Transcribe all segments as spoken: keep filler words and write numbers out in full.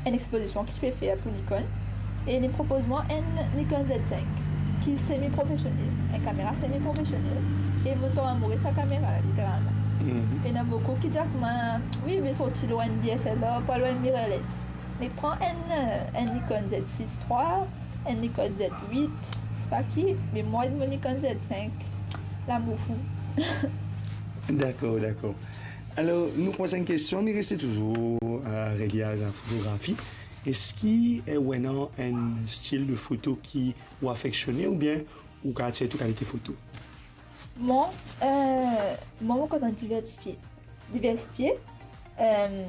enn expozision ki ti pe fer pou Nikon, e li propoz mwa enn Nikon Z cinq, ki semi profesionel, enn kamera semi profesionel, e mo tom amour sa kamera la, literalman. Mhm. Ena boukou ki dir mwa, "Wi, me sorti lor enn D S L R, pou al lor enn mirrorless. Me pran enn, enn Nikon Z six trois, enn Nikon Z huit, sepa ki, me mwa mo Nikon Z cinq, lamour fou." Dakor, dakor. Alor, nou poz enn kestion, li reste touzour, euh, relie a la fotografi. Eski, euh, ou ena enn stil de foto ki ou afeksione oubien ou kapav tir tou kalite foto? Mwa, euh, mwa, mo kontan diversifie. Diversifie, euh,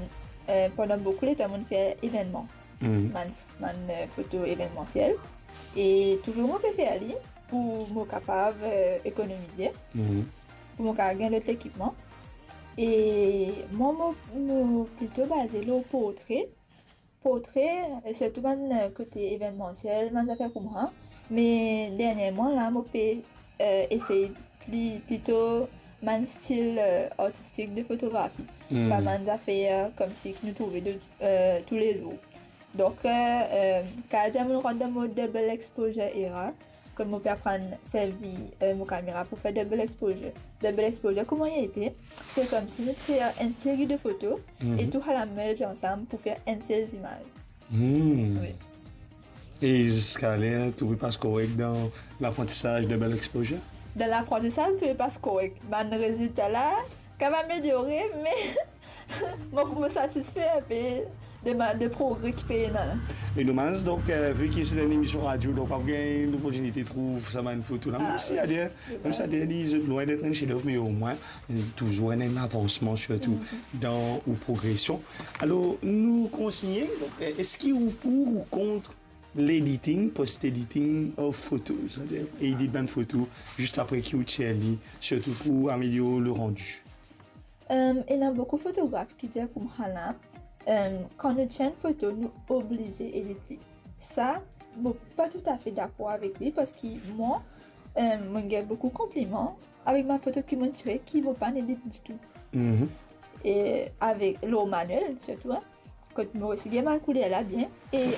euh, pandan boukou letan mo fer evennman. Mhm. Bann, bann, euh, foto evenmansiel. E touzour mo pe fer li pou mo kapav, euh, ekonomize, mhm, pou mo kapav gagn lot lekipman. E mwa, mo, mo plito baze lor portre. Portre, e sirtou bann, euh, kote evenmansiel, bann zafer koumsa. Me dernierman la, mo pe, euh, esey pli, plito bann stil, euh, artistik de fotografi. Hmm. Pa bann zafer, euh, koumsi ki nou trouve de, euh, toulezour. Donk, euh, euh, kapav dir mo rant dan mo double exposure era. Kouma mo pe aprann servi, euh, mo kamera pou fer double exposure. Double exposure, kouma li ete? Se koumsi nou tir enn seri de foto, mhm, e tou sa la merge ansam pou fer enn sel zimaz. Hmm. Wi. E ziska ler, tou pe pas korek dan laprantisaz double exposure? Dan laprantisaz, tou pe pas korek. Bann rezilta la, kapav ameliore, me mo, mo satisfe inpe de ma, de progre ki pe ena la. E domaz, donk, euh, vi ki se enn emision radio, donk pa pou gagn loportinite trouv sa bann foto la. Mem si, wi, ader, mem si ader li lwin det enn chef-d'œuvre, me omwin, euh, touzour enn, enn avansman, sirtou dan ou progresion. Alor, nou kontinie. Donk, euh, eski ou pou ou kont l'editing, post-editing of photos, c'est-à-dire edit bann foto zis apre ki ou tir li, sirtou pou amelior le rendu? Euh, ena boukou fotograf ki dir koumsa la, euh, kan nou tir enn foto, nou oblize edit li. Sa, mo pa toutafe dakor avek li, parski mwa, euh, mo gagn boukou konpliman avek bann foto ki mo tire, ki mo pa'nn edit ditou. Mhm. E avek lor manuel, sirtou, hein, kot mo resi gagn bann kouler la bien. E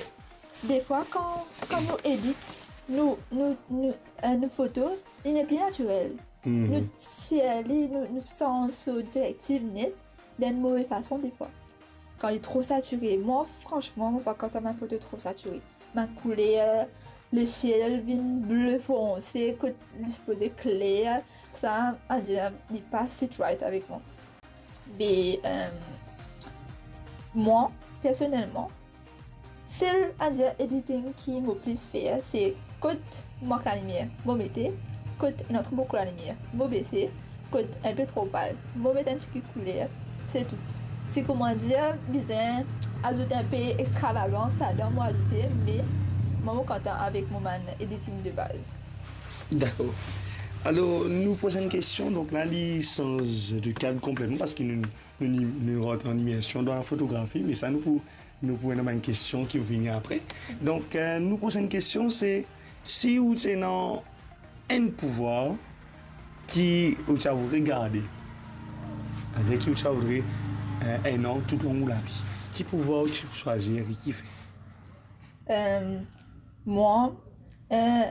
defwa, kan, kan nou edit, nou, nou, nou, euh, nou foto, li nepli natirel. Mhm. Nou tir li, nou, nou sanz so direktiv net, dan enn move fason defwa. Kan li tro satire, mwa, fransman, mo pa kontan bann foto tro satire. Bann kouler, lesiel vinn ble fonse, kot li sipoze kler, sa, adir, li pa sit right avek mwa. Be, euh, mwa, personelman, sel, adir, editing ki mo plis fer, se kot mank lalimier, mo mete, kot ena tro boukou lalimier, mo bese, kot inpe tro pal, mo met enn tigit kouler, se tou. Si, kouma dir, bizin azout inpe extravagans ladan, mo azoute, me mwa, mo kontan avek mo bann editing de baz. Dakor. Alor, nou prosenn kestion, donk la, li sanz de kad konpletman, parski nou, nou, nou, nou rant an imersion dan la fotografi, me sa, nou pou, nou pou ena bann kestion ki pou vini apre. Donk, euh, nou prosenn kestion, se si ou ti ena enn pouvwar ki ou ti a voudre garde, avek ki ou ti a voudre, euh, ena toulong ou lavi, ki pouvwar ou ti pou swazir e kifer? Euh, mwa, euh,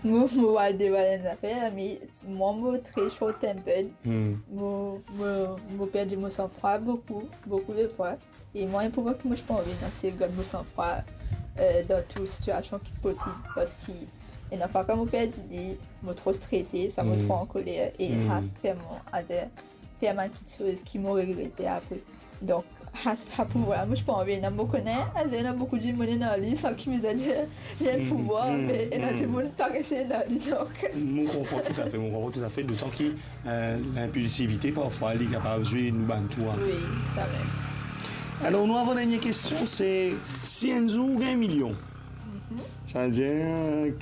mo, mo al devwal enn zafer, me mwa, mo tre short tempered. Hmm. Mo, mo, mo perdi mo sanfrwa boukou, boukou de fwa. E mwa, enn pouvwar ki mo ti pa anvi ena, se gard mo sanfrwa, euh, dan tou sitiasion ki posib, parski ena fwa kan mo perdi li, mo tro strese, swa mo, hmm, tro ankoler, e, hmm, sa fer mwa, ader, fer bann kiksoz ki mo regrete apre. Donk, sa, sa pouvwar la, mo ti pa anvi ena. Mo kone, azer ena boukou dimoun ena li, san ki bizin dir li enn, hmm, pouvwar, hmm, me ena, hmm, dimoun parese ena li, donk. Mo konpran toutafe, mo konpran toutafe, dotan ki, euh, linpilsivite, parfwa, li kapav zwe nou bann tou, hein. Wi, samem. Alor, nou avan dernie kestion, se si enn zour ou gagn milion, mhm, savedir, euh,